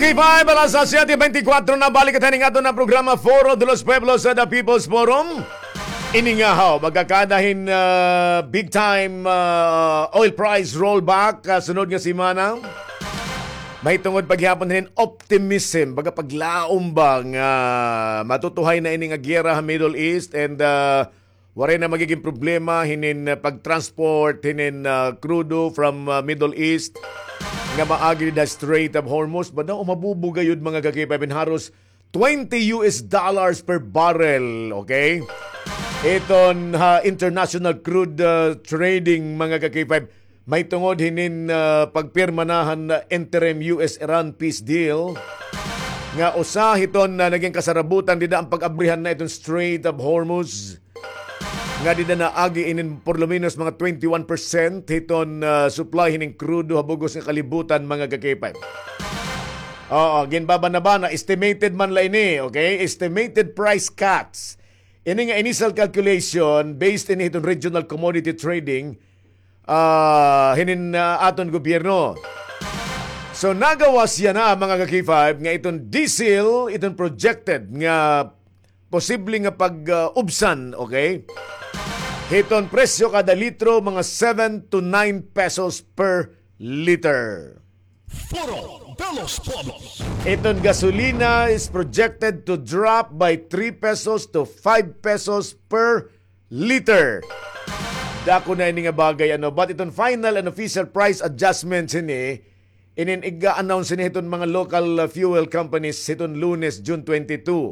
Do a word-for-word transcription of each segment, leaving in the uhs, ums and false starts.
Five, alas siyete beintikwatro na, balik kita hining aton nga programa, Foro de los Pueblos, sa The People's Forum. Ini nga haw, magkakada hin, ah, big time, ah, oil price rollback, ah, sunod nga semana. Mahitungod pa gihapon hin optimism, baga paglaom ba nga matutuhay na ini nga giyera ha Middle East and, ah, waray na magiging problema hinin, ah, pag-transport hinin, ah, krudo from, ah, Middle East nga maagi dida Strait of Hormuz. Badaw, mabubo gayud, mga ka-K five, hin haros twenty U S dollars per barrel, okay? Iton ha international crude, ah, trading, mga ka-K five, mahitungod hinin, ah, pagpirma na han interim U S Iran peace deal nga usa hiton, ah, naging kasarabutan dida an pag-abrihan na iton Strait of Hormuz. Nga dida naagi inin por lo menos mga twenty-one percent hiton, ah, supply hining krudo ha bug-os nga kalibutan, mga ka-K five. Oo, ginbabana-bana, estimated man la ini, okay? Estimated price cuts. Ini nga initial calculation based ini hiton regional commodity trading, ah, hinin, ah, aton gobyerno. So, nagawas yana, mga ka-K five, nga iton diesel, iton projected nga posible nga pag, ah, ubsan, okay? Hiton presyo kada litro, mga seven to nine pesos per liter. Foro de los Pueblos. Iton gasolina is projected to drop by three pesos to five pesos per liter. Dako na ini nga bagay, ano, but iton final and official price adjustments ini, inin iga-announce ini hiton mga local, uh, fuel companies hiton Lunes, June twenty-two.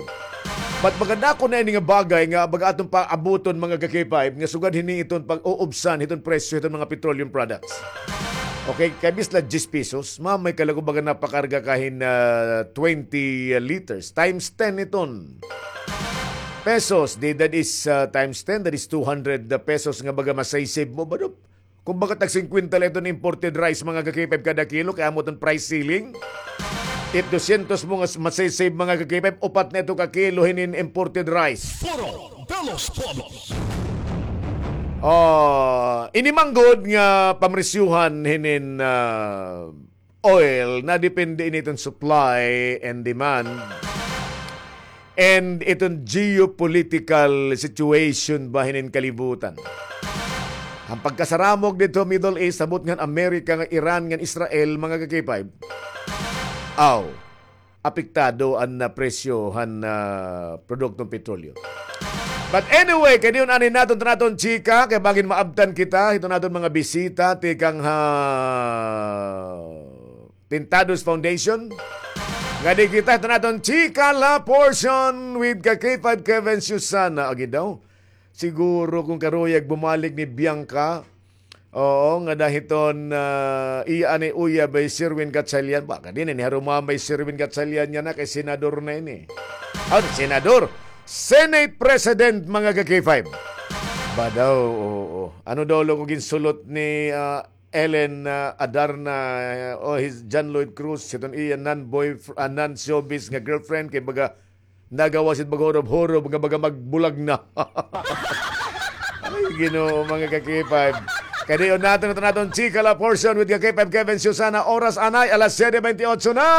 But baga dako na ini nga bagay nga baga aton paabuton, mga ka-K five, nga sugad hini iton pag-uubsan hiton presyo hiton mga petroleum products. Okay, kay bis la diyes pesos, mamay ka la kon baga napakarga ka hin, ah, twenty liters. Times ten iton pesos, di, that is, ah, times ten, that is two hundred pesos nga baga masay-save mo. Bado, kon baga tag singkwenta la iton imported rice, mga ka-K five, kada kilo, kay amo iton price ceiling. It dosyentos mo nga s-, masay-save, mga ka-K five, upat na ito ka kilo hinin imported rice. Foro de los Pueblos. Ah, ini man gud nga pamresyuhan hinin, ah, oil, nadepende ini iton supply and demand and iton geopolitical situation ba hinin kalibutan. An pagkasaramog didto Middle East, sabot ngan America, ngan Iran, ngan Israel, mga ka-K five. Aw, apektado an, ah, presyo han, ah, produktong petrolyo. But anyway, kay diyon anay naton, iton aton chika, kay bangin maabtan kita hiton aton mga bisita tikang ha Tintados Foundation. Ngadi kita hiton aton chika la portion with ka-K five Kevin Susana. Agi daw, siguro kon karuyag bumalik ni Bianca, oo, ngada hiton, ah, iya anay uyab hi Sherwin Gatchalian. Ba, kadi na ini harumamay hi Sherwin Gatchalian yana kay senador na ini. Ah, senador. Senate President, mga ka-K five. Ba daw, oo. Ano daw la ko ginsulot ni, ah, Ellen, ah, Adarna, ah, o hi John Lloyd Cruz, hiton iya non-boyf-, ah, non-showbiz nga girlfriend, kay baga nagawas it baga hurob-hurob nga baga magbulag na. Ay, Ginoo, mga ka-K five. Kay diyon naton, naton, chika la portion with ka-K five Kevin Susana. Oras anay, alas siyete bentiocho na.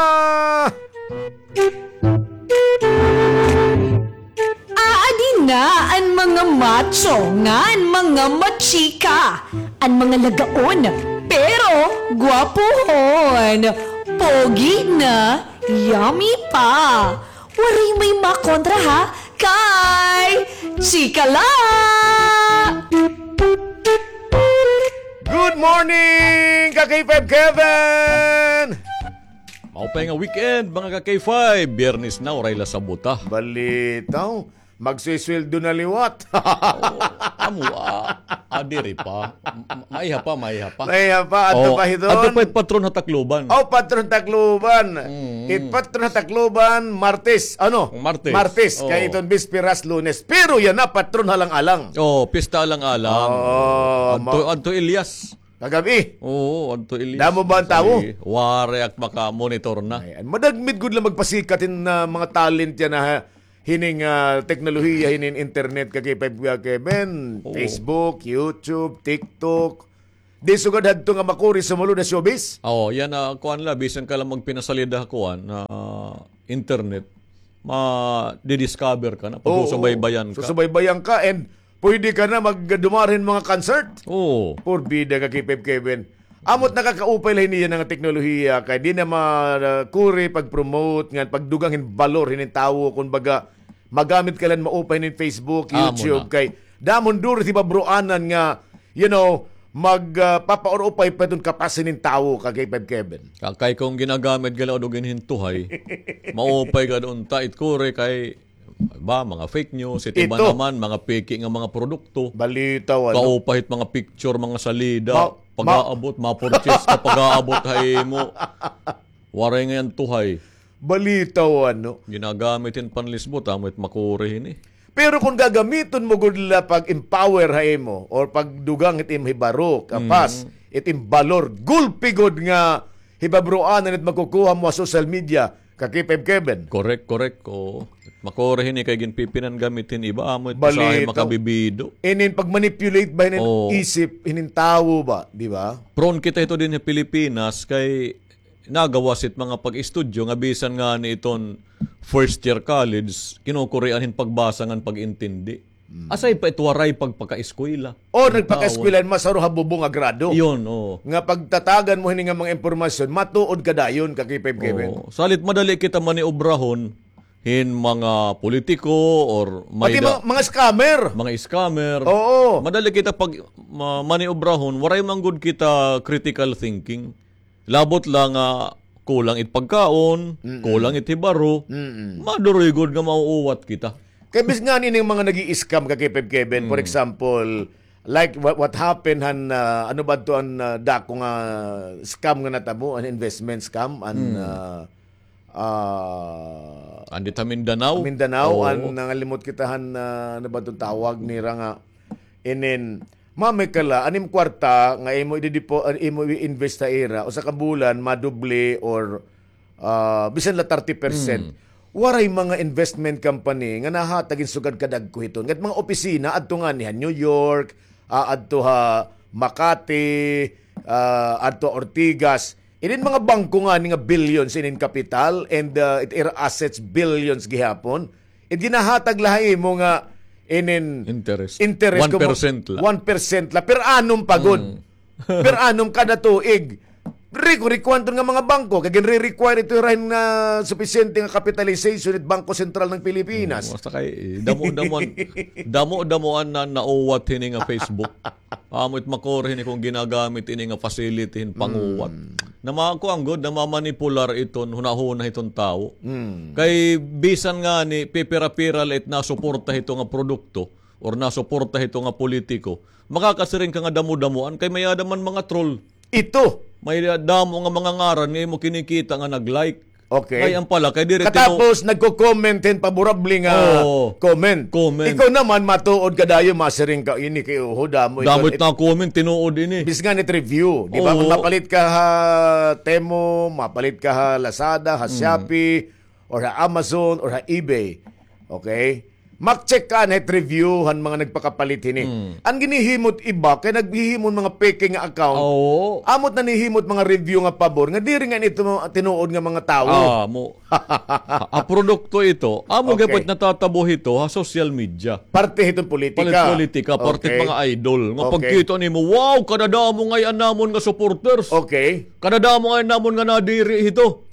Aadi na an mga macho ngan mga machika, an mga lagaon, pero gwapohon, pogi na, yummy pa. Waray may makontra, ha? Kay chika la! Good morning, ka-K five Kevin! Maupay nga weekend, mga ka-K five. Biyernes na, waray la sabota. Balitaw, magsuysweldo na liwat. Oo, amo, ah, ah, diri pa. M-, maiha pa, maiha pa. Maiha pa, adto pa hiton. Adto pa it patron ha Tacloban. Oh, patron Tacloban. Mm. It patron ha Tacloban, Martes. Ano? Martes. Martes. Oo. Kay iton bisperas, Lunes. Pero yana, patron ha Alang-alang. Oh, pista Alang-alang. Oo, adto, ma- adto Elias. Kagab-i. Oo, adto Elias. Damo ba an tawo? Waray ak makamonitor na. Ayan. Madagmit gud la magpasikat hin, ah, mga talent yana, ha, hining, ah, teknolohiya, hining internet, ka-K five, ah, Kevin. Oo. Facebook, YouTube, TikTok. Di sugad hadto nga makuri sumulod ha showbiz. Oo, yana, kuan la, bisan ka la magpinasalida ha kuan, ha internet, ma-discover ka na, pagsusubaybayan ka. Susubaybayan ka and pwede ka na magdumara hin mga concert. Oo. Porbida ka, K five Kevin. Amo it nakakaupay la hini yana nga teknolohiya, kay di na makuri pag-promote, ngan pagdugang hin balor hinin tawo, kumbaga, magamit ka la hin maupay hinin Facebook, YouTube, kay damo hin duro it hibabroanan nga, you know, mag, ah, papaurupay pa iton kapas hinin tawo ka, K five Kevin. Kay kon ginagamit gad la udog hin tuhay, maupay gad unta it kuri kay, ba, mga fake news, it iba naman, mga peke nga mga produkto. Balitaw, ano? Kaupay it mga picture, mga salida, pag-aabot, ma-purchase ka, pag-aabot ha imo. Waray ngay-an tuhay. Balitaw, ano? Ginagamit hin panlisbot, amo it makuri hini. Pero kon gagamiton mo gud la pag-empower ha imo or pagdugang it imo hibaro, kapas, it im balor, gulpi gud nga hibabroanan it makukuha mo ha social media, ka K five Kevin. Correct, correct. Oo. Makuri hini kay ginpipinanggam it hin iba, amo it usahay makabibido. Inin pag-manipulate ba hinin isip hinin tawo ba, di ba? Prone kita hito dinhi ha Pilipinas kay nagawas it mga pag-estudyo nga bisan ngani iton first year college, kinukurian hin pagbasa ngan pag-intindi. Aside pa it waray pagpakaeskwela. O, nagpakaeskwela, masaro ha bubong a grado. Iyon, oo. Nga pagtatagan mo hini nga mga impormasyon, matuod ka dayon, ka K five Kevin. Oo. Salit madali kita maniobrahon hin mga politiko or pati mga, mga scammer. Mga scammer. Oo. Madali kita pag, ma-, maniobrahon, waray man gud kita critical thinking. Labot la nga kulang it pagkaon, kulang it hibaro, maduroy gud nga mauuwat kita. Kay bis ngani ning mga nag-i-scam ka, K five Kevin, for example, like what, what happened han, ah, ano ba to an, ah, dako nga scam nga natabo, an investment scam, an, ah, ah, andit ha Mindanao? Mindanao, an nangalimot kita han, ah, ano ba to tawag nira nga, inin, Mami ka la, an im kwarta nga imo ididepo-, ah, imo i-invest ha ira, usa ka bulan, madoble or, ah, bisan la thirty percent. Waray mga investment company nga nahatag hin sugad kadagko hiton. Ngat mga opisina, adto ngani ha New York, ah, adto ha Makati, ah, adto ha Ortigas. Inin mga bangko ngani nga billions inin kapital and, ah, it ira assets billions gihapon. It ginahatag la ha imo nga inin interest. Interest one percent la. One percent la. Per annum pa gud. Per annum kada tuig. Rico, rico anton nga mga bangko. Kay ginre-require ito irahin nga supisyente nga capitalization it Bangko Sentral ng Pilipinas. Basta kay, eh, damo-damoan, damo-damoan na nauwat hini nga Facebook. Amo it makuri hini kon ginagamit ini nga facility hin panguwat. Namakuan gud, namamanipular iton hunahuna hiton tawo. Kay bisan ngani pipira-pira la it nasuporta hito nga produkto or nasuporta hito nga politiko, makakasiring ka nga damo-damoan kay may-ada man mga troll. Ito. May damo nga mga ngaran nga imo kinikita nga nag-like. Okay. Ay, an pala, kay diri tinu- Katapos, nagko-comment hin paborable nga comment. Comment. Ikaw naman, matuod ka dayon, masiring ka, ini kay uho, damo ito. Damo it na-comment, tinuod ini. Bis ngani it review, di ba? Oo. Kon mapalit ka ha Temu, mapalit ka ha Lazada, ha Shopee, or ha Amazon, or ha eBay. Okay? Mak-check ka anay hit review han mga nagpakapalit hini. An ginhihimo it iba kay naghihimo hin mga peke nga account. Oo. Amo it nanhihimo it mga review nga pabor nga diri ngani ito tinuod nga mga tawo. Ah, amo. Ha, ha produkto ito. Amo gihapon it natatabo hito ha social media. Parte hiton politika. Palit politika, parte hit mga idol. Nga pagkita nimo, wow, kadadamo ngay-an namon nga supporters. Okay. Kadadamo ngay-an namon nga nadiri hito.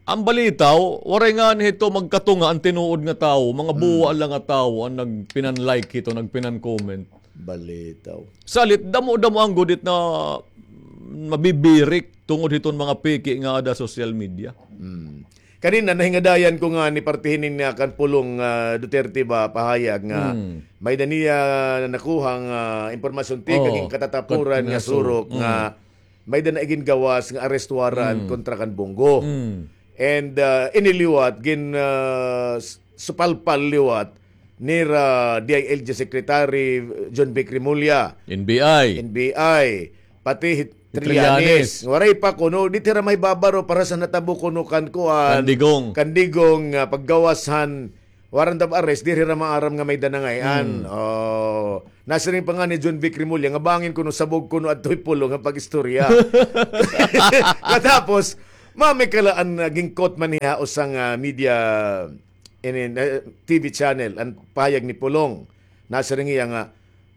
An balitaw, waray ngani hito magkatunga an tinuod nga tawo, mga buwa la nga tawo an nagpinan-like hito, nagpinan-comment. Balitaw. Salit, damo-damoan gud it na mabibirik tungod hiton mga peke nga ada social media. Kanina, nahingadayan ko ngani parte hinin nga kan Pulong, ah, Duterte ba pahayag nga may-ada niya nakuhang, ah, impormasyon tikang hin katatapuran nga surok nga may-ada na igingawas nga arrest warrant kontra kan Bong Go. And, ah, ini liwat, gin, ah, s-, supalpal liwat nira D I L G Secretary John Vic Remulla. N B I. N B I. Pati hi Trillanes. Waray pa kuno, diri hira mahibabaro para sa natabo kuno kan kuan. Kan Digong. Kan Digong, ah, paggawas han Warrant of arrest, diri hira maaram nga may-ada na ngay-an. Hmm. Oh. Nasiring pa ngani hi John Vic Remulla nga bangin kuno sabog kuno adto hi Pulong nga pag-istorya. Katapos, mao may kalaan nga gin-quote man hiya usa nga, ah, media, inin, eh, T V channel, an pahayag ni Pulong. Nasiring hiya nga,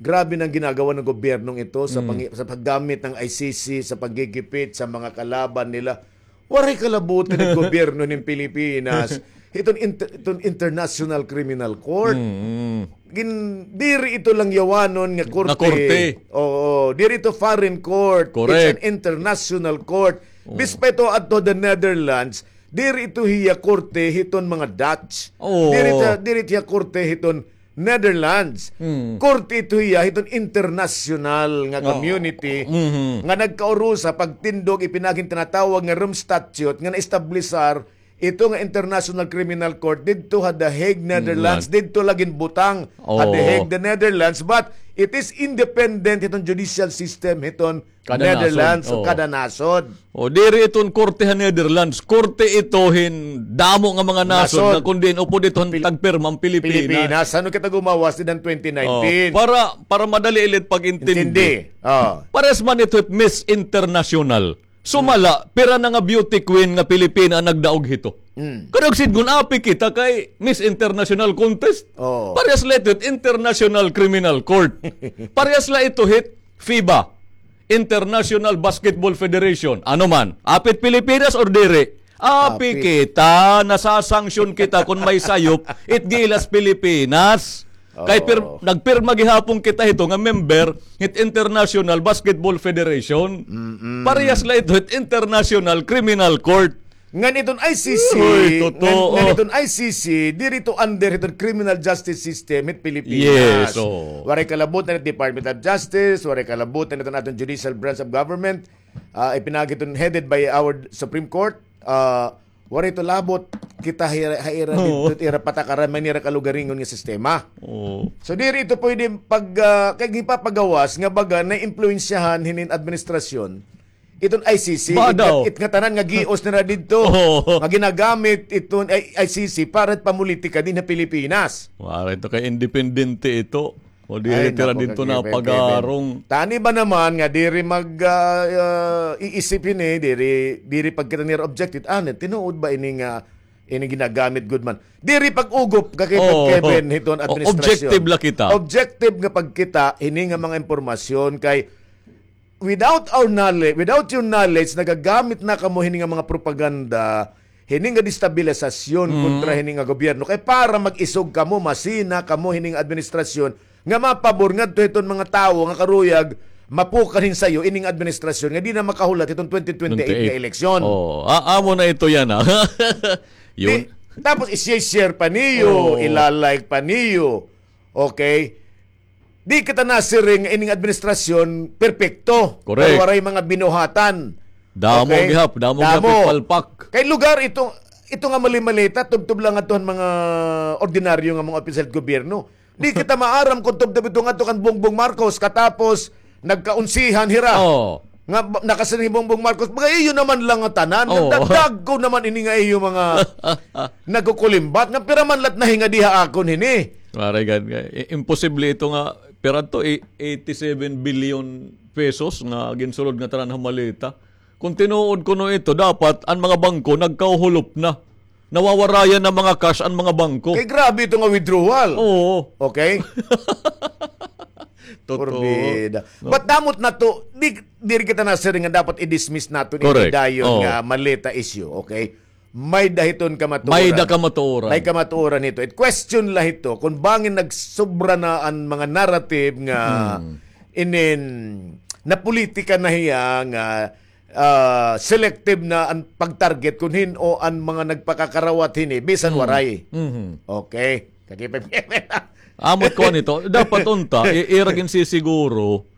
grabe na an ginagawa ng gobyernong ito sa Mm. pangi-, sa paggamit ng I C C, sa paggigipit sa mga kalaban nila. Waray kalabutan an gobyerno nin Pilipinas. Iton inter-, iton International Criminal Court. Mm. Gin-, diri ito langyawanon nga korte. Nga korte. Oo, diri ito foreign court. Correct. It's an international court. Oo. Bispa ito adto the Netherlands, diri ito hiya korte hiton mga Dutch. Oo. Diri ito, diri ito hiya korte hiton Netherlands. Hmm. Korte ito hiya hiton internasyonal nga Oo. community Mhm. nga nagkaurusa pagtindog ipinagin tinatawag nga Rome Statute nga naestablisar ito nga International Criminal Court didto ha The Hague, Netherlands. Netherlands. Didto la ginbutang ha The Oo. Hague, the Netherlands. But it is independent hiton judicial system hiton Kada Netherlands nasod. o Oo. kada nasod. O, diri iton korte ha Netherlands. Korte ito hin damo nga mga nasod Nasod. nga kun diin upod ito han Pil-, tagpirma an Pilipinas. Pilipinas. Ano kita gumawas din ang twenty nineteen? O, para, para madali ilit pag-intindi. Intindi. O. Parehas man ito hit Miss International. Sumala, pira na nga beauty queen nga Pilipina an nagdaog hito. Mm. Kadagsid ngun api kita kay Miss International Contest. Oo. Parehas la ito hit International Criminal Court. Parehas la ito hit FIBA, International Basketball Federation. Ano man, apit Pilipinas or diri? Api Api. kita, nasasanction kita kun may sayop, it gilas Pilipinas. Kay pir-, Oo. nagpirma gihapon kita hito nga member hit International Basketball Federation. Mm-mm. Parehas la ito hit International Criminal Court. Ngan iton I C C, Uy, totoo. ngan, ngan iton I C C, diri ito under iton criminal justice system hit Pilipinas. Yes, oo. Waray kalabutan it Department of Justice, waray kalabutan iton aton judicial branch of government. Ah, ipinagi iton headed by our Supreme Court. Ah, waray ito labot kita ha ira, ha ira Oo. didto, ira patakaran, may nira kalugaringon nga sistema. Oo. So, diri ito pwede pag, ah, kay gipapagawas nga baga naimpluwensyahan hinin administrasyon iton I C C, Ba it, daw? it nga tanan nga gios nira didto, Oo. nga ginagamit iton I-, I C C para pamulitika din ha Pilipinas. Wala ito kay independente ito. O diri Ay, tira naku, didto Kagipin, napagarong. Kevin. Tani ba naman nga diri mag, ah, ah, iisip hini, diri, diri pagkita nira objective. Ah, tinuod ba ini nga, ini ginagamit gud man? Diri pag-ugop, Kagipin, Oo. Kevin, hiton O, administrasyon. objective la kita. Objective nga pagkita, hini nga mga impormasyon kay without our knowledge, without your knowledge, nagagamit na kamo hini nga mga propaganda, hini nga destabilisasyon Mm. kontra hini nga gobyerno. Kay para mag-isog kamo, masina kamo hini nga administrasyon nga mapabor ngadto hiton mga tawo nga karuyag mapukan hin sayo ini nga administrasyon nga di na makahulat hiton twenty twenty-eight nga Twenty-eight. eleksyon. Oo. Ah, amo na ito yan, ah. Yun. Di, tapos i-share pa niyo, Oo. ila-like pa niyo. Okay? Di kita nasiring nga ining administrasyon perpekto. Correct. Pero waray mga binuhatan. Damo Okay? gihap, damo gihap Damo. ipalpak. Kay lugar ito, ito nga mali-malita, tubtob lang ato han mga ordinaryo nga mga opisyal sa gobyerno. Di kita maaram kung tubtob ito nga ato kan Bongbong Marcos, katapos nagkaunsihan hira. Oo. Nga ba-, nakasiring hi Bongbong Marcos, "Baga iyo naman lang nga tanan, Oo. nagdagdag ko naman ini nga iyo mga nagkukulimbat, nga pira man lat nahinga diha akon hini." Waray gad nga. I-, imposible ito nga, pira to, i-, eighty-seven billion pesos nga ginsulod nga tanan ha maleta. Kung tinuod kuno ito, dapat an mga bangko nagkauhulop na. Nawawarayan na mga cash an mga bangko. Kay grabe ito nga withdrawal. Oo. Okay? Totoo. Porbida. No. But damo it nato, di, diri kita nasiring nga dapat i-dismiss naton ini Correct. dayon Oo. nga maleta issue, okay? May-ada hiton kamatuoran. May-ada kamatuoran. May kamatuoran hito. It question la hito kung bangin nagsobra na an mga narrative nga Hmm. inin napolitika na hiya nga, ah, selective na an pag-target kun hin-o an mga nagpakakarawat hini, bisan Hmm. waray. Mhm. Okay. Kagipin. Amo it kuan ito. Dapat unta, i-, ira ginsisiguro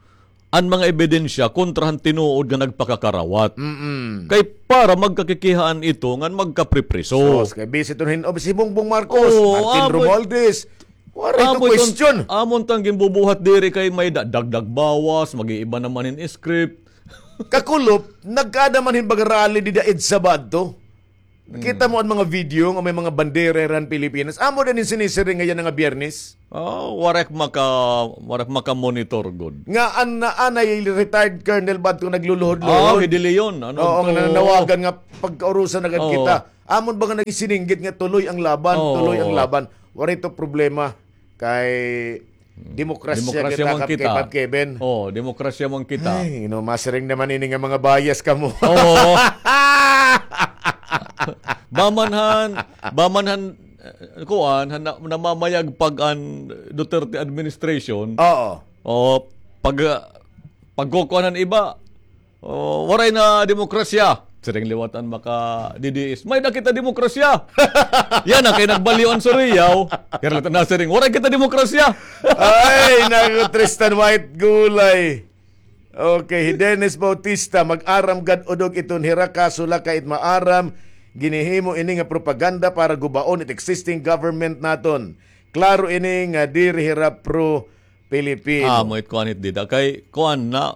an mga ebidensya kontra han tinuod nga nagpakakarawat. Mm-mm. Kay para magkakikihaan ito ngan magkapripriso. Sus, kay busy iton hin-o, si Bongbong Marcos, Oo, Martin amo it, Romualdez. Waray ito amo it un-, question. amo untang ginbubuhat diri kay may da-, dagdag bawas, mag-iiba naman hin script. Kakulop, nagkaada man hin baga rally dida EDSA ba adto? Kita mo an mga video nga may mga bandera han Pilipinas. Amo din an sinisiring ngay-an nga Biyernes. Oh, waray ak maka-, waray ak maka-monitor gud. Nga an, an retired colonel ba ito nagluluhod-luhod? Ah, hi De Leon. Ano to? Oo, nga nananawagan nga pagkaurusan na gad kita. Amon ba nga nagsininggit nga tuloy ang laban, tuloy ang laban. Waray ito problema. Kay demokrasya kita, Kap-, Kevin. Oh, demokrasya man kita. Ay, no, masiring naman ini nga mga bias kamo. Oo. Bamanhan, bamanhan, eh, kuan, han na-, namamayag pag an Duterte administration. Oo. O, pag, ah, pagkukuan han iba, oh, waray na demokrasya. Siring liwat an maka-D D S. May-ada kita demokrasya. Yana kay nagbaliw an Surigao. Yana liwat an nasiring, waray kita demokrasya. Ay, naku, Tristan White Gulay. Okay, hi Dennis Bautista, mag-aram gad udog iton hira kaso la kay it maaram, ginhihimo ini nga propaganda para gubaon it existing government naton. Klaro ini nga diri hira pro-Pilipino. Amo it kuan it dida. Kay kuan na,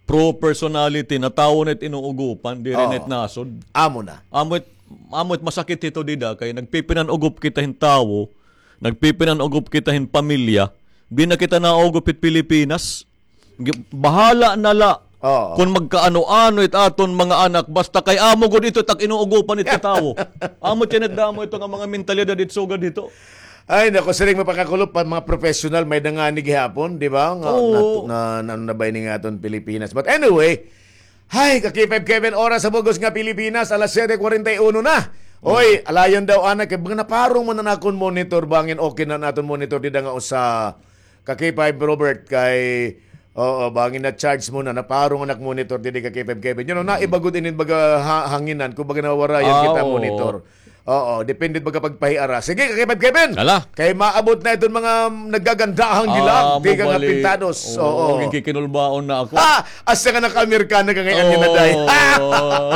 pro personality na tawo na it inuugopan, diri na it nasod. Amo na. Amo it, amo it masakit hito dida, kay nagpipinan-ugop kita hin tawo, nagpipinan-ugop kita hin pamilya, di na kita naugop hit Pilipinas. Gi-, bahala na la kon magkaano-ano it aton mga anak, basta kay amo gud ito it ak inuugopan it katawo. Amo tiyan it damo ito nga mga mentalidad it sugad hito. Ay, naku, siring mapakakulop pa, mga professional, may-ada ngani gihapon, di ba? Nga, oo. Na, na, na, ano na ba ini nga aton Pilipinas? But anyway, hay, ka K five Kevin, oras sa bug-os nga Pilipinas, alas siyete kwarenta y uno na. Oy, alayon daw, ana, kay mga naparong man an akon monitor, bangin okay na an aton monitor, dida nga usa ka K five Robert, kay, oo, bangin na-charge mo na, naparong an ak monitor, didi ka K five Kevin. You know, naiba gud inin baga ha-, hanginan, kung baga nawarayan kita monitor. Oo, depende baga pagpahiara. Sige, ka K five Kevin. Ala. Kay maabot na iton mga naggagandahang dilag, di ka nga pintados. Oo, oo. Nagkikinulbaon na ako. Ha! Asa nga naka-Amerikana ka ngay-an nga naday? Oo.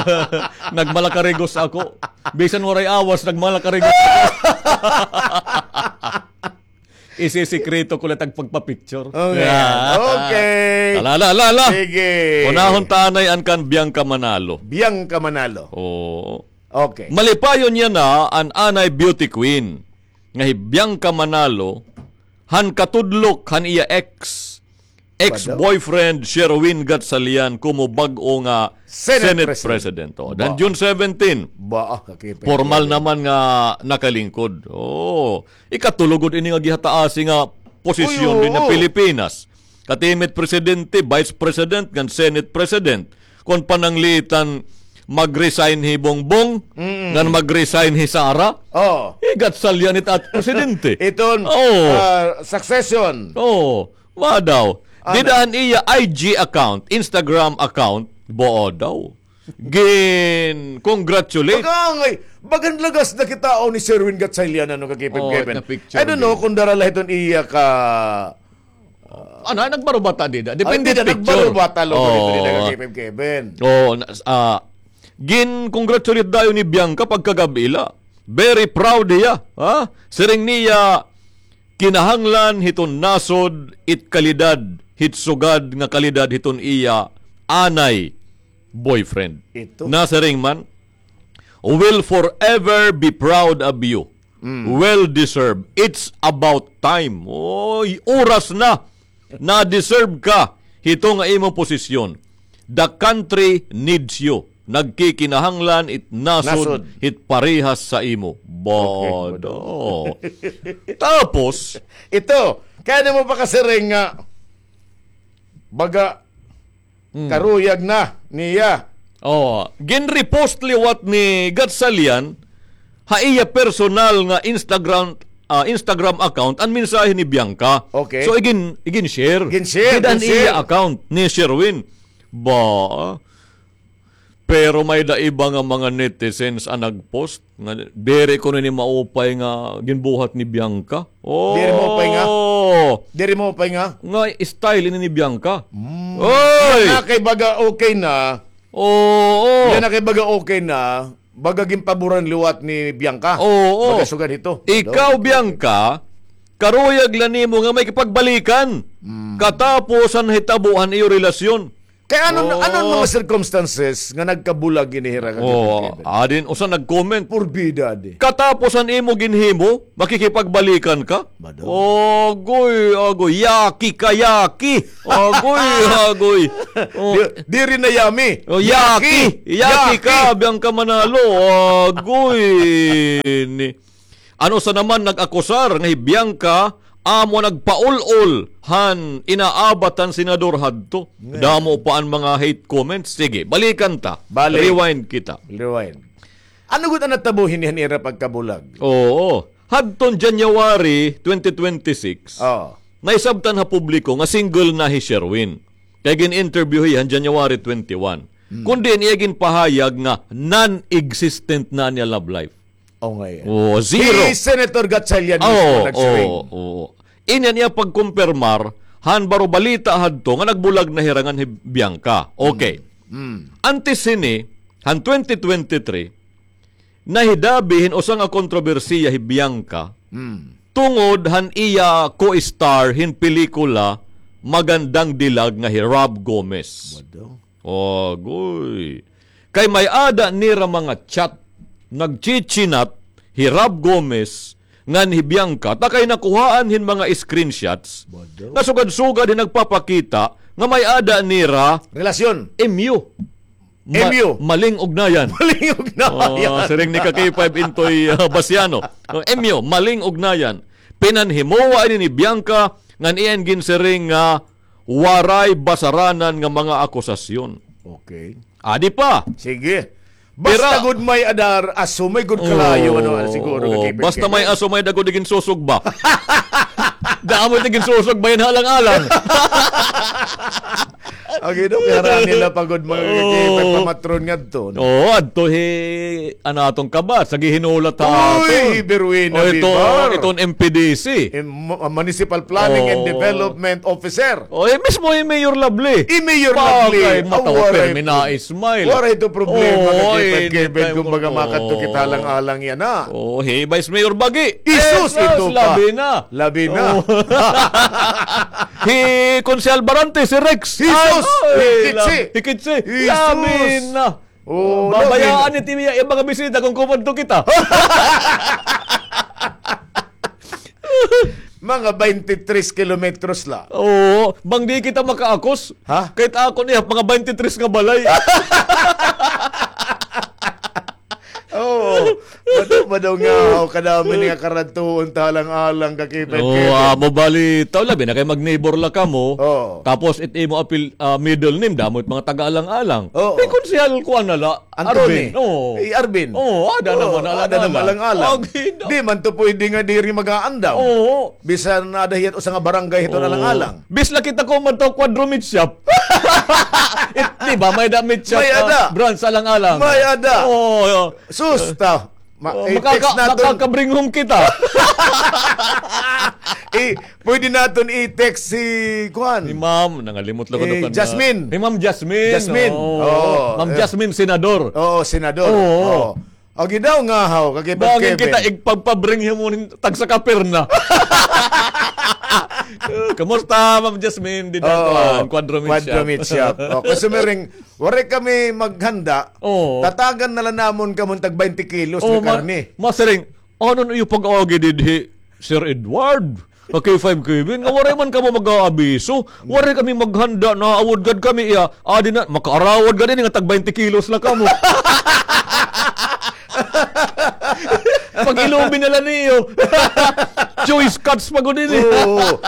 Nagmalakarigos ako. Bisan waray awas, nagmalakarigos ako. Isisikreto ko la it ak pagpa-picture. Okay. Ah. Okay. Ala, ala, ala, ala. Sige. Unahon ta anay an kan Bianca Manalo. Bianca Manalo. Oo. Okay. Malipayon niya na an anay beauty queen nga hi Bianca Manalo, han katudlok han iya ex, ex-boyfriend Sherwin Gatchalian komo bag-o nga Senate President. Senate President. O, dan June seventeen. Ba, ah, kakipit. Formal naman nga nakalingkod. O, ikatulo gud ini nga gihataasi nga posisyon dinhi ha Pilipinas. Katimit presidente, vice president, ngan Senate President. Kon pananglitan, mag-resign hi Bongbong, ngan mag-resign hi Sara. Oo. Hi Gatchalian it at presidente. Iton, ah, succession. Oo. Wa daw. Dida han iya I G account, Instagram account, boo daw. Gin-congratulate. Baga ngay-an, bagan lagas na kita, o, ni Sherwin Gatchalian, ano, ka K five Kevin. I don't know kon dara la hiton iya ka, ah, ano, nagbarubata dida. Depende picture. Nagbarubata, lo, dida, dida ka K five Kevin. Oo, na, ah, gin-congratulate dayon ni Bianca pagkagab-i la. Very proud hiya, ha? Siring niya, kinahanglan hiton nasod it kalidad, hit sugad nga kalidad hiton iya anay boyfriend. Ito. Nasiring man, "Will forever be proud of you. Mm. Well deserved. It's about time." Oy, oras na. Na-deserve ka hito nga imo posisyon. The country needs you. Nagkikinahanglan it nasod, nasod hit parehas sa imo. Okay, bodo. Tapos, ito, kay ano mo pa kasiring nga, baga, hmm, karuyag na niya. Oh, gin-repost liwat ni Gatchalian ha iya personal nga Instagram, ah, Instagram account an mensahe ni Bianca. Okay. So, igin-, igin-share. Igin-share, dida han iya account ni Sherwin. Ba, pero may-ada iba nga mga netizens an nag-post nga diri kuno ini maupay nga ginbuhat ni Bianca. Oh. Diri maupay nga? Diri maupay nga? Nga style ini ni Bianca. Mm. Oy! Yana kay baga okay na. Oo. Yana kay baga okay na. Baga ginpaboran liwat ni Bianca. Oo. Baga sugad hito. Ikaw, Bianca, karuyag la nimo nga may kapagbalikan. Mm. Katapos han hitabo han iyo relasyon. Kay ano, ano an mga circumstances nga nagkabulag ini hira nga Oh, gipigkipig? Adin, usa nag-comment. Porbida, adi. Katapos an imo ginhimo, makikipagbalikan ka? Mado. Agoy, agoy. Yaki ka, yaki. Agoy, agoy. Oh. Di, diri na yami. Oh, yaki. Yaki. Yaki ka, Bianca Manalo. Agoy. Ni, ano sa naman nag-akusar nga hi Bianca amo nagpaul-ol han inaabat han senador hadto. Nga. Damo pa an mga hate comments. Sige, balikan ta. Balik. Rewind kita. Rewind. Ano gud an natabo hini han ira pagkabulag? Oo. Hadton January twenty twenty-six, Oo. naisabtan ha publiko nga single na hi Sherwin. Kay gin-interview hiya han January twenty-one. Hmm. Kundi an iya ginpahayag nga non-existent na an iya love life. Oh, nga iya. Oo, zero. Si Senator Gatchalian mismo nagsiring. Oo, oo. Ini an iya pagkumpirmar han baro balita hadto nga nagbulag na hira ngan hi Bianca. Okay. Mm. Mm. Antes hini, han twenty twenty-three, nahidabi hin usa nga kontrobersiya hi Bianca Mm. tungod han iya co-star hin pelikula Magandang Dilag nga hi Rob Gomez. Mado. Agoy. Kay may-ada nira mga chat, nagchichinat hi Rob Gomez ngan hi Bianca, ta kay nakuhaan hin mga screenshots Bodo. nga sugad-sugad hin nagpapakita nga may-ada nira Relasyon. M U. Ma-, M U. Maling ugnayan. Maling ugnayan. Oh, siring ni ka K five Intoy, ah, Basiano. Oh, M U, maling ugnayan. Pinanhimowa ini ni Bianca ngan iya ginsiring nga waray basaranan nga mga akusasyon. Okay. Adi pa. Sige. Basta Pira- gud may-ada, aso may gud kalayo, Oo, ano, siguro, oo. Nakipit Basta kayo. May aso, may-ada gud iginsusugba. Damo it iginsusugba, yan halang-alang. Ang ino, kaya nila pa gud mga Oo. Kakipit, pamatron nga to, no? Oo, adto hi, ano, atong kabat, sa gihinulat ha Uy, aton. Berwina Oy, ito, Bibar. Itong M P D C. Im-, mu-, Municipal Planning and Oo. Development Officer. Oh, eh, mismo hi Mayor Lovely. Hi Mayor Lovely. Bagay, matawa, Aw, waray permi po. Na-smile. Waray ito problema, Oo, kakipit, eh, kipit, hindi tayo kumbaga, mag-, makadto kita oo. Halang-alang yana. Oo, hi Vice Mayor Bagi. Isus, Eh, sus, ito pa. Labi na. Labi na. Oo. Hi Konsehal Barante, si Rex. Isus, Ay, ay, hikit lab-, si. Hikit si. Isus. Labi na. Oh, Babayaan labi na. Ni Timmy, yung mga bisita kung kumadto kita. Mga twenty-three kilometros la. Oo, bang di kita makaakos? Ha? Kahit ako niya, mga twenty-three nga balay. Oo. Mado, mado nga, oh, kadami nga karadtuon, talang-alang, kakipit-kipit. Oo, ah, mo bali, taw labi na kay mag-neighbor la kamo. Oo. Tapos, it imo apil-, ah, middle name, damo it mga taga-alang-alang. Oo. Di konsehal ko, ano la, Anthony. Arvin, oo. Eh, Arvin. Oo, ada Oo, naman, ada naman alang-alang. Alang-alang. Agi na. Di man to pwede nga diri mag-aandam. Oo. Bisan na ada hiyat usa nga barangay hiton Oo. Alang-alang. Bis la kita ko man to Quadro Meat Shop. It, di ba, may da meat shop, May ah, ada. Branch alang-alang. May ada. Oo. Sus, ta. Ma-, Oh, i-text makaka-, naton. Makakabringhong kita. Eh, pwede naton i-text si, kuan. Ni Ma'am, nangalimot lang ko Eh, na kan-, Jasmine. Ni Ma'am Jasmine. Jasmine. Oo. Oo. Ma'am Eh. Jasmine, senador. Oo, senador. Oo. Oo. Agi daw nga, haw, kakipag Bangin Kevin. Kita, igpagpabringhong mo nin tagsa ka perna. Kumusta, Ma'am Jasmine? Di na Oo. kuan, Quadro Meat Quadro Shop. Meat Shop. O, kay sumiring, waray kami maghanda, Oo. tatagan na la namon kamo tag twenty kilos Oo, nga ma-, karne. Masiring, ano na iyo pag-agi didhi, Sir Edward? Ka K five Kevin, nga waray man kamo mag-aabiso. Waray kami maghanda, naawod gad kami iya. Adi na, makaarawod gad ini nga tag twenty kilos la kamo. Pag-ilobi na la niyo. Choice cuts pa gud ini. Oo.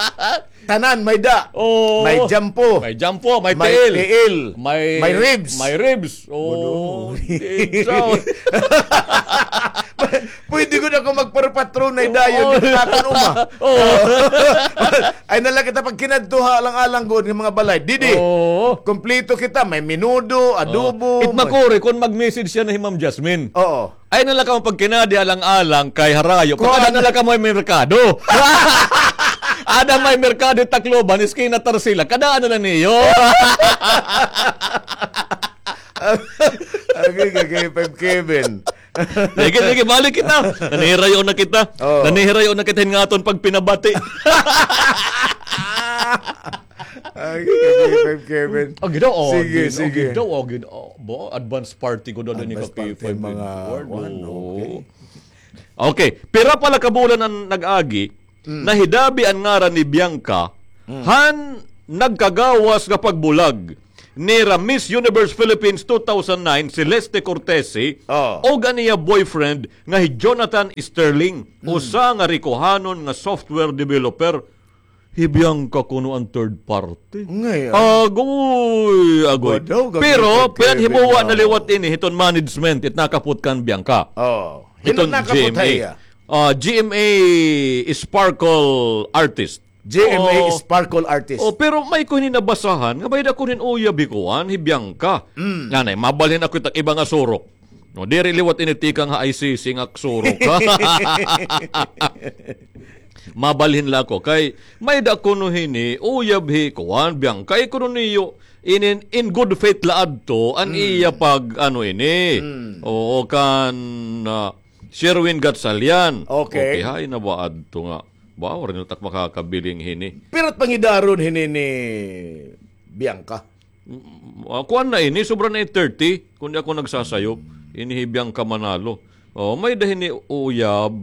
Tanan, may da. Oo. May jampo. May jampo, may May tiil. tiil. May, May ribs. may ribs. Oo. Ano? Di, so. Pwede gud ako magpapatronay dayon Oo. Dito natin uma. Oo. Ay, nala kita pag kinadto ha alang-alang gud ng mga balay. Didi. Oo. Kompleto kita. May menudo, adobo, Oo. It may makuri kung mag-message siya na hi Ma'am Jasmine. Oo. Ay, nala ka mo pagkinadi alang-alang kay harayo. Kuan. Pagkada nala ka mo ay merkado. Ada may merkado Tacloban, eskina Tarsila. Kada ano na niyo? Agay, agay, Five Kevin. Sige, sige, balik kita. Nanihirayo na kita. Oo. Nanihirayo na kita hin aton pagpinabati. Agi, K five Kevin. Agi daw, sige, agi, sige. Agi daw, agi daw. Ba, advance party ko daw ni K five Edward. Mga one, okay. Okay, pira pa la ka bulan an nag-agi, nahidabi an ngaran ni Bianca han nagkagawas nga pagbulag nira Miss Universe Philippines two thousand nine, Celeste Cortese, ug an iya boyfriend nga hi Jonathan Sterling, usa nga rikuhanon nga software developer. Hi Bianca kuno an third party. Ngay-an. Agoy, agoy. Pero pinanhimuwa na liwat ini hiton management, it nakapot kan Bianca. Oh. Hiton G M A. Ah, G M A Sparkle Artist. G M A Sparkle Artist. Oh, pero may ko hini nabasahan nga may-ada kuno hin uyab hi kuan, hi Bianca. Nanay, mabalhin ako it ak iba nga surok. No, diri liwat ini tikang ha I C C nga surok. Mabalhin la ako kay may-ada kuno hini uyab hi kuan, Bianca, kay kuno niyo inin in good faith la adto an iya pag ano ini. Oo, kan, ah, Sherwin Gatchalian. Okay. Okay, hain na ba adto nga? Ba, waray na tak makakabiling hini. Pira it pangidaron hini ni Bianca? Mm, ah, kuan na ini, sobra na ini thirty, kun di ako nagsasayop. Ini hi Bianca Manalo. Oh, may-ada hini uyab.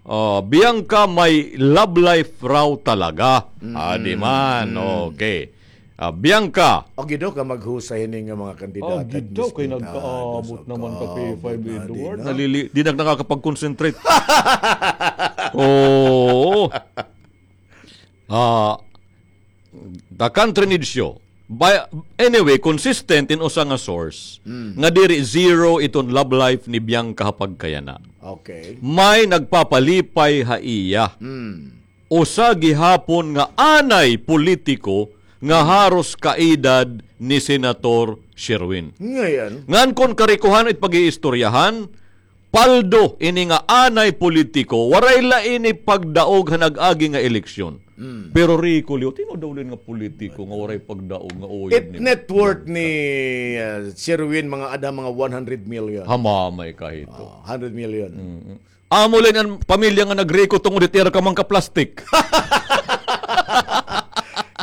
Ah, Bianca may love life raw talaga. Adi man, okay. Ah, Bianca. O, gido ka maghusay hini nga mga kandidata. O, gido kay nagkaabot naman ka, P five Edward. Nalili-, di na nakakapag-concentrate. Oo. Ah, the country needs you. By, anyway, consistent in usa nga source nga diri zero iton love life ni Bianca ha pagkayana. Okay. May nagpapalipay ha iya. Usa gihapon nga anay politiko nga haros kaedad ni Senator Sherwin. Ngay-an. Ngan kon karikuhan it pag-iistoryahan, paldo ini nga anay politiko, waray la ini pagdaog ha nag-agi nga eleksyon. Pero riko liwat, hin-o daw liwat nga politiko nga waray pagdaog nga uyab ni Bianca? It net worth ni, ah, Sherwin, mga ada, mga one hundred million. Hamamay ka hito. Ah, hundred million. Amo la ini an pamilya nga nagriko tungod hit ira ka mangka-plastic.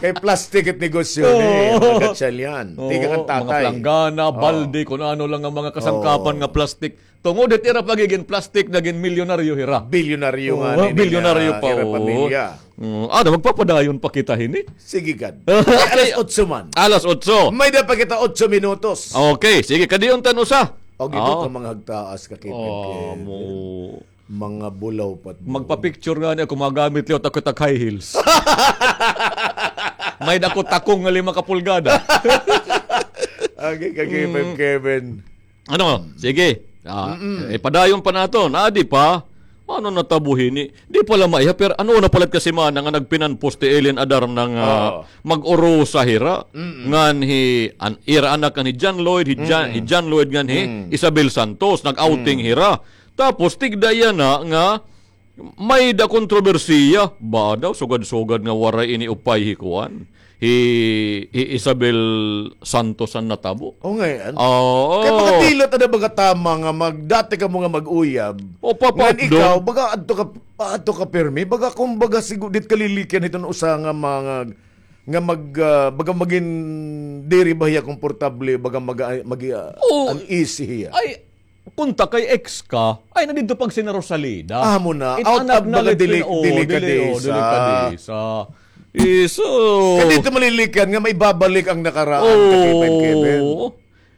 Kay plastic it negosyo ni, oo, mga Gatchalian. Oo, tikang kan tatay. Mga planggana, balde, kun ano la nga mga kasangkapan nga plastic. Tungod hit ira pagigin plastic, nagin milyonaryo hira. Bilyonaryo nga nini, bilyonaryo pa, ira pamilya. Mm, ano, magpapadayon pa kita hini? Sige gad. Alas otso man. Alas otso. May-ada pa kita otso minutos. Okay, sige, kadiyon ta an usa. O, gido ka mga hagtaas ka, Kevin. Mga bulaw pa. Magpa-picture ngani ako, magamit liwat ako tak high heels. May-ada ko takong nga lima ka pulgada. Okay, ka Kevin, Kevin. Ano? Sige. Ah, eh, padayon pa naton. Adi pa. Ano natabo hini? Di pa la maiha, pero ano na palit ka semana nga nagpinan-post hi Ellen Adarna nga mag-urusa hira. Ngan hi, an, ira anak ngan hi John Lloyd, hi John, hi John Lloyd ngan hi Isabel Santos, nag-outing hira. Tapos, tigda yana nga may-ada kontrobersiya. Ba daw, sugad-sugad nga waray ini upay hi kuan, hi, hi Isabel Santos an natabo. O, ngay-an. Oo. Kay makadila ta na baga tama nga mag-, dati kamo nga mag-uyab. O, ngan ikaw, baga adto ka, adto ka pirmi. Baga, kumbaga, sigu-, diri ka lilikyan hiton usa nga mga, nga mag-, ah, baga magin diri ba hiya komportable, baga mag-, mag-, ah, uneasy hiya. Ay, Kunta kay ex ka, ay, na didto pag sina Rosalida. Amo na. Out of baga dili, delikadesa. Iso. Kay didto malilikyan nga maibabalik an nakaraan, ka Kevin, Kevin.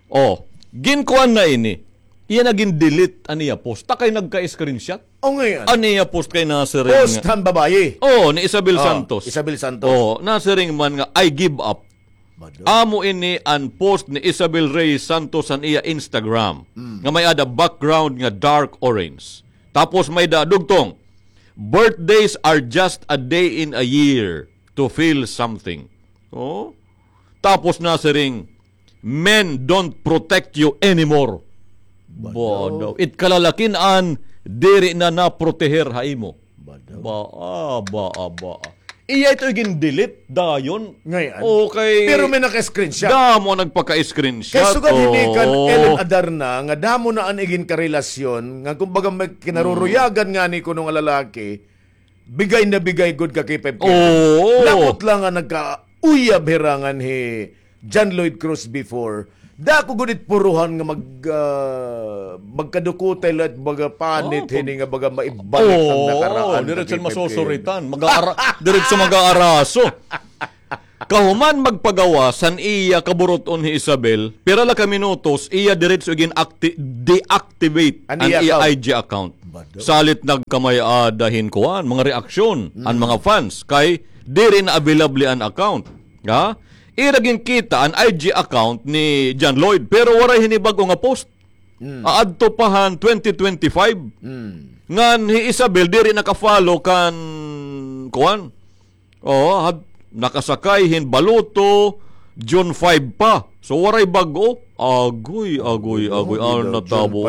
O, ginkuan na ini. Iya na gin-delete an iya post. Ta kay nagka-screenshot. O, ngay-an. An iya post kay nasiring. Post han babayi. O, ni Isabel Santos. Isabel Santos. O, nasiring man nga, "I give up." Amo ini an post ni Isabel Reyes Santos han iya Instagram nga may-ada background nga dark orange. Tapos may-ada dugtong, "Birthdays are just a day in a year to feel something." O? Tapos nasiring, "Men don't protect you anymore." Ba daw. It kalalakin-an diri na naproteher ha imo. Ba daw. Baa, baa, baa. Iya ito igin-delete dayon. Ngay-an. Okay. Pero may naka-screenshot. Damo nagpaka-screenshot. Kay sugad hini kan Ellen Adarna, nga damo na an igin karelasyon, nga kumbaga may kinaruruyagan ngani kuno nga lalaki, bigay na bigay gud ka kay Pep Kevin. Oo. Labot lang nga nagka-, uyab hira ngan hi John Lloyd Cruz before, dako gud it puruhan nga mag, ah, magkadukutay la it baga panit hini nga baga maibalik an nakaraan, diretso masusuritan. Mag-aara-, diretso mag-aaraso. Kahuman magpagawas han iya kaburut-on hi Isabel, pira la ka minutos, iya diretso gin-acti-, deactivate an iya I G account. Salit nagkamay-ada hin kuan, mga reaksyon an mga fans kay diri na available an account. Ha? Ira ginkita an I G account ni John Lloyd, pero waray hini bag-o nga post. Aadto pa han twenty twenty-five. Ngan hi Isabel diri naka-follow kan kuan. Oo, had-, nakasakay hin baluto, June five pa. So, waray bag-o. Agoy, agoy, agoy. Ano natabo?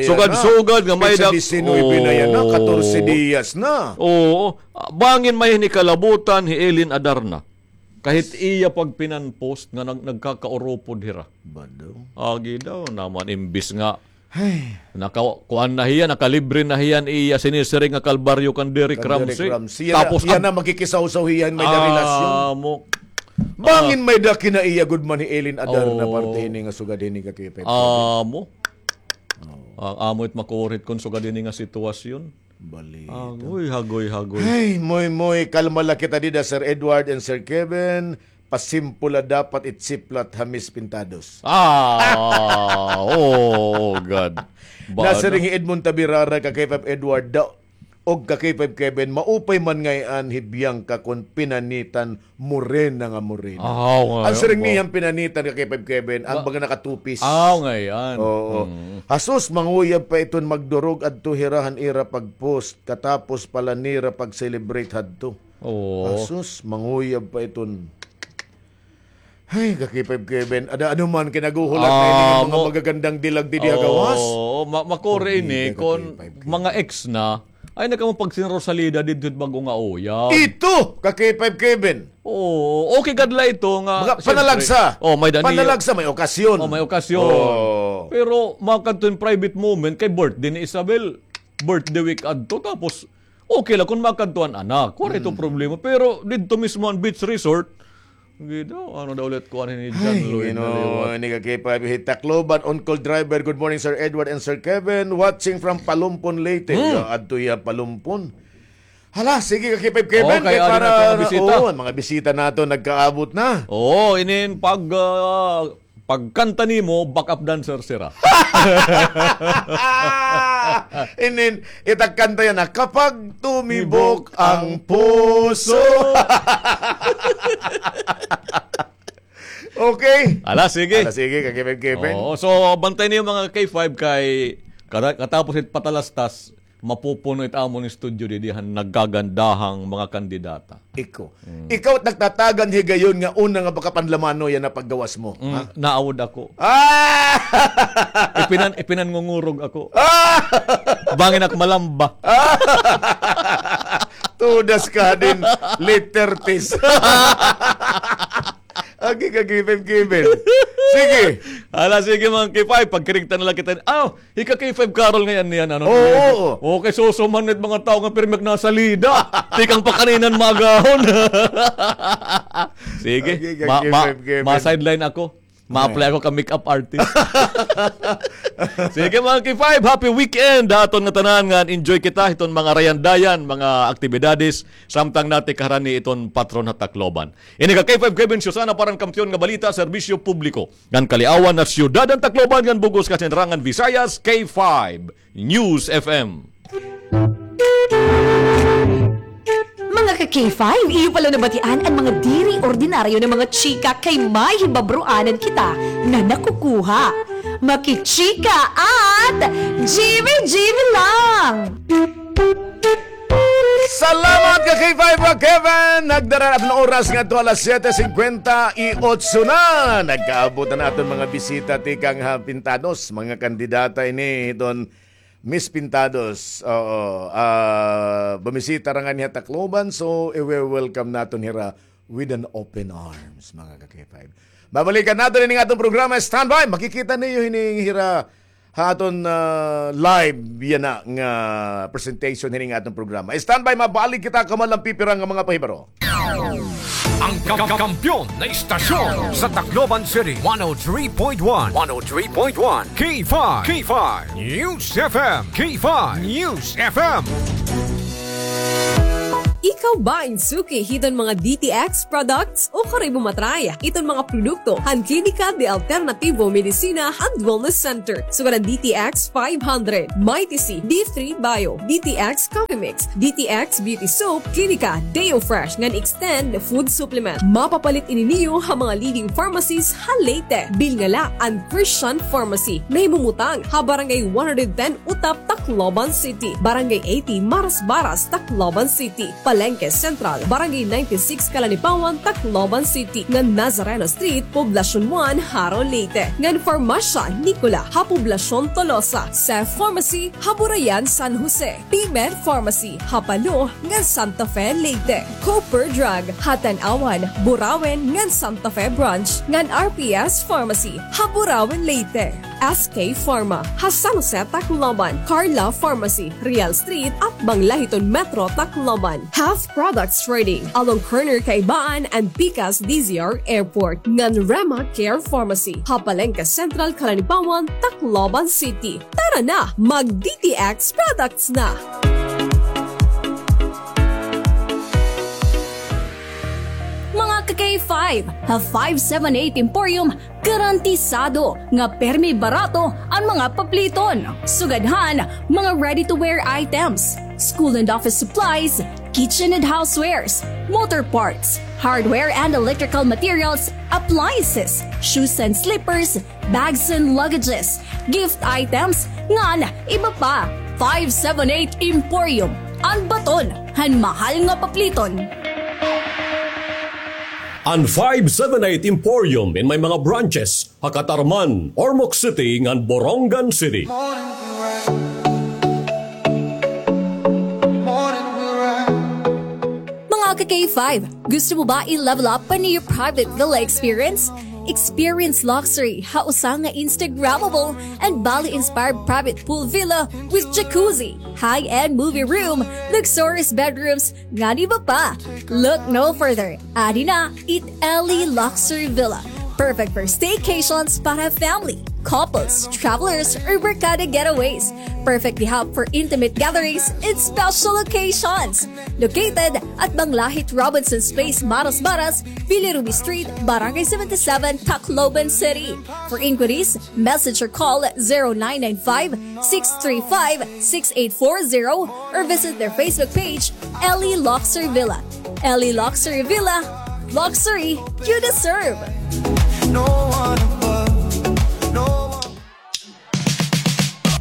Sugad-sugad nga may dak-, disinuybe na yana, katorse diyas na. Oo. Bangin may hini kalabutan hi Eileen Adarna. Kahit iya pagpinanpost nga nag-, nagkakauropod hira. Agi daw naman, imbis nga Ay. Naka-, kuan na hiya, nakalibre na hiya han iya sinisiring nga kalbaryo kan Derek Ramsey. Tapos yana, magkikisawsaw hiya han may-ada relasyon. Amo. Bangin may-ada kinaiya gud man hi Eileen Adarna parte hini nga sugad hini ka K five. Amo. Amo it makurit kon sugad hini nga sitwasyon. Balita. Agoy, hagoy, hagoy. Ay, moy, moy, kalma la kita dida, Sir Edward and Sir Kevin. Pasimple la dapat it siplat ha Miss Pintados. Ah, oh, God. Nasiring hi Edmond Tabirara ka K five Edward daw, og ka K five Kevin, maupay man ngay-an hi Bianca kon pinanitan morena nga morena. Aw, ngay-an. An siring niya pinanitan ka K five Kevin, an baga nakatupis. Aw, ngay-an. Oo. Hasus, manguyab pa iton magdurog adto hira han ira pag-post, katapos pa la nira pag-celebrate hadto. Oo. Asus, manguyab pa iton. Ay, ka K five Kevin. Ada, ano man, kinaguhulat na ini nga mga magagandang dilag didi ha gawas. Oo, ma-, makuri ini, kon mga ex na, ay, nagkamupagsin Rosalida didto it bag-o nga uyab. Ito, ka K five Kevin. Oo, okay gad la ito nga, mga panalagsa. Oh, may dani. Panalagsa, may okasyon. Oh, may okasyon. Oo. Pero, makadto in private moment, kay birthday ni Isabel, birthday week adto, tapos, okay la kon makadto an anak, waray ito problema. Pero didto mismo an beach resort, gida, ano daw ulit kuan ni John Lloyd na liwat. Ni ka K five, hi Tacloban, on-call driver. Good morning, Sir Edward and Sir Kevin. Watching from Palumpon, Leyte. Ya, adto ya Palumpon. Hala, sige ka K five Kevin, kay para, oo, mga bisita naton nagkaabot na. Oo, inin pag, ah, pagkanta nimo, backup dancer sira. Inin, it ak kanta yana, Kapag Tumibok ang Puso. Okay. Ala, sige. Ala, sige, ka K five Kevin. Oo, so, bantay niyo mga K five kay kata-, katapos it patalastas, mapupuno it amon studio didi han nagkagandahang mga kandidata. Ikaw. Ikaw it nagtatagan higayon nga una nga baka panlamano yana paggawas mo. Ha? Naawod ako. Ah! Ipinan-, ipinanngungurog ako. Ah! Bangin ak malamba. Ah! Tudas ka din, late thirties. Agi ka, K five Kevin. Sige. Ala, sige, mga K five, pagkirigtan na lang kita. Aw, hi ka K five Carol ngay-an niyan, ano? Oo, oo. Okay, susuman it mga tawo nga pirmi ak nasalida. Tikang pa kanina magahon. Sige, ma-, ma-, ma-sideline ako. Ma-apply ako ka makeup artist. Sige, mga K five, happy weekend ha aton ngatanan, ngan enjoy kita hiton mga rayandayan, mga aktibidades, samtang natikahran ni iton patron ha Tacloban. Ini ka K five Kevin Susana para han Kampiyon nga Balita, Serbisyo Publiko, ngan Kaliawan ha Syudad han Tacloban ngan bug-os Kasingrangan Visayas, K five News F M. Mga ka K five, iyo pala nabatian an mga diri ordinaryo nga mga chika kay may hibabroanan kita nga nakukuha. Makichika at G B G B lang! Salamat ka K five, Kevin! Nagdara na an oras ngadto alas siyete singkwenta y otso na. Nagkaabot na aton mga bisita tikang ha Pintados, mga kandidata ini hiton Miss Pintados. Oo, ah, bumisita ra ngani ha Tacloban, so iwe-welcome naton hira with an open arms, mga ka K five. Babalikan naton ini nga aton programa, standby. Makikita niyo hini hira ha aton, ah, live yana nga presentation hini nga aton programa. Standby, mabalik kita kahuman la hin pipira nga mga pahibaro. An ka-, ka-, kampiyon na istasyon sa Tacloban City, one oh three point one, one oh three point one, K five, K five News F M, K five News F M. Ikaw ba in suki hiton mga D T X products o karuy mo matry iton mga produkto han Klinika de Alternativo Medicina and Wellness Center? Sugad han D T X five hundred, Mighty C, D three Bio, D T X Coffee Mix, D T X Beauty Soap, Klinika Deo Fresh ngan Extend Food Supplement. Mapapalit ini niyo ha mga leading pharmacies ha Leyte. Bilnga la an Christian Pharmacy, nahimumutang ha Barangay one hundred ten Utap, Tacloban City, Barangay eighty Marasbaras, Tacloban City, Palengke Central, Barangay ninety-six Calanipawan, Tacloban City, ngan Nazareno Street, Poblacion one, Jaro, Leyte, ngan Farmasya Nicola ha Poblacion Tolosa, Seth Pharmacy ha Burayan, San Jose, P-Med Pharmacy ha Palo ngan Santa Fe, Leyte, Cooper Drug ha Tanauan, Burauen ngan Santa Fe Branch, ngan R P S Pharmacy ha Burauen, Leyte, S K Pharma ha San Jose, Tacloban, Carla Pharmacy, Real Street, atbang la hiton Metro Tacloban, Health Products Trading, along corner Kaibaan and pikas D Z R Airport, ngan Rema Care Pharmacy ha Palengke Central, Calanipawan, Tacloban City. Tara na, mag D T X products na! Mga ka-K five, ha five seven eight Emporium, garantisado nga permi barato an mga papliton. Sugad han mga ready-to-wear items, school and office supplies, kitchen and housewares, motor parts, hardware and electrical materials, appliances, shoes and slippers, bags and luggages, gift items, ngan iba pa. Five seven eight Emporium, an baton han mahal nga papliton. An five seven eight Emporium in may mga branches ha Catarman, Ormoc City, ngan Borongan City. Mga ka-K five, gusto mo ba i-level up an iyo private villa experience? Experience luxury ha usa nga Instagrammable and Bali-inspired private pool villa with jacuzzi, high-end movie room, luxurious bedrooms, ngan iba pa. Look no further. Adi na it Ellie Luxury Villa. Perfect for staycations para family, couples, travelers, or barkada getaways. Perfect gihap for intimate gatherings and special occasions. Located at Banglahit Robinson's Place, Marasbaras, Billy Ruby Street, Barangay seventy-seven, Tacloban City. For inquiries, message or call zero nine nine five, six three five, six eight four zero or visit their Facebook page, Ellie Luxury Villa. Ellie Luxury Villa, luxury you deserve.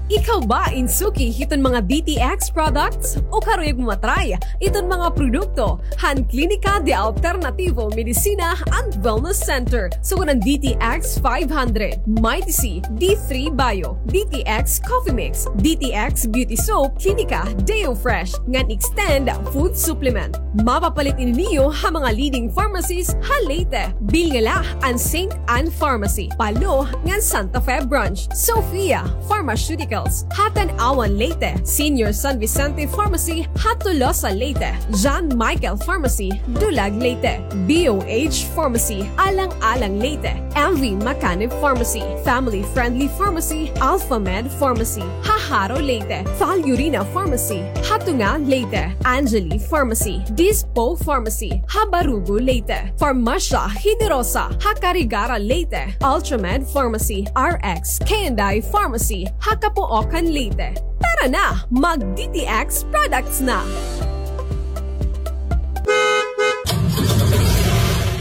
Ikaw ba in suki hiton mga D T X products o karuyag mo matry iton mga produkto han Klinika de Alternativo Medicina and Wellness Center? Sugad han D T X five hundred, Mighty C, D three Bio, D T X Coffee Mix, D T X Beauty Soap, Klinika Deo Fresh, ngan Extend Food Supplement. Mapapalit ini niyo ha mga leading pharmacies ha Leyte. Bilnga la an Saint Anne Pharmacy, Palo, ngan Santa Fe Branch, Sofia Pharmaceuticals ha Tanauan, Leyte, Senior San Vicente Pharmacy ha Tolosa, Leyte, John Michael Pharmacy, Dulag, Leyte, B O H Pharmacy, Alang-alang, Leyte, M V Macanib Pharmacy, Family Friendly Pharmacy, Alpha Med Pharmacy ha Jaro, Leyte, Val Urina Pharmacy ha Tunga, Leyte, Angeli Pharmacy, Dispo Pharmacy ha Barugo, Leyte, Farmasya Generosa ha Carigara, Leyte, Ultramed Pharmacy, R X K and I Pharmacy ha Capoocan, Leyte. Tara na, mag D T X products na!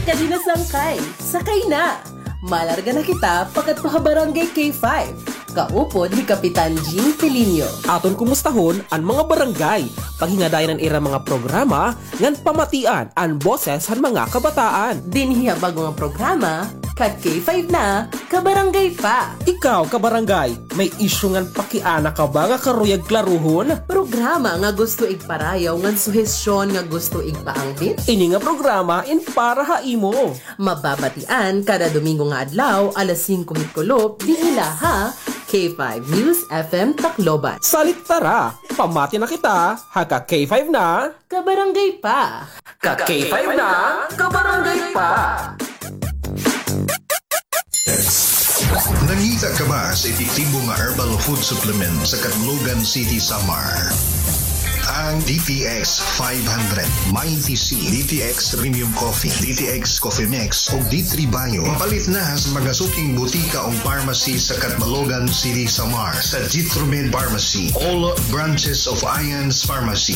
Kadi na sangkay, sakay na! Malarga na kita pakadto ha Barangay K five, kaupod ni Kapitan Jean Pelinio. Aton kumustahon an mga barangay, paghingadayon an ira mga programa, ngan pamatian an boses han mga kabataan. Dinhi ha bag-o nga programa, ka-K five na, ka-barangay pa. Ikaw, ka-barangay, may isyu ngan pakiana ka ba nga karuyag klaruhon? Programa nga gusto igparayaw ngan suhestyon nga gusto igpaangbit? Ini nga programa in para ha imo. Mababatian kada Domingo nga adlaw, alas singko hit kulop, dinhi la ha K five News F M Tacloban. Salit tara, pamati na kita, ha ka K five na, kabarangay pa. Ka K five na, kabarangay pa. Nangita ka ba sa epektibo nga herbal food supplement sa Catbalogan City, Samar? Ang D T X five hundred, Mighty C, D T X Premium Coffee, D T X Coffee Mix, ug D three Bio. Mapalit na sa mga suking butika o pharmacy sa Catbalogan City, Samar, sa Jitromed Pharmacy, all branches of Ian's Pharmacy,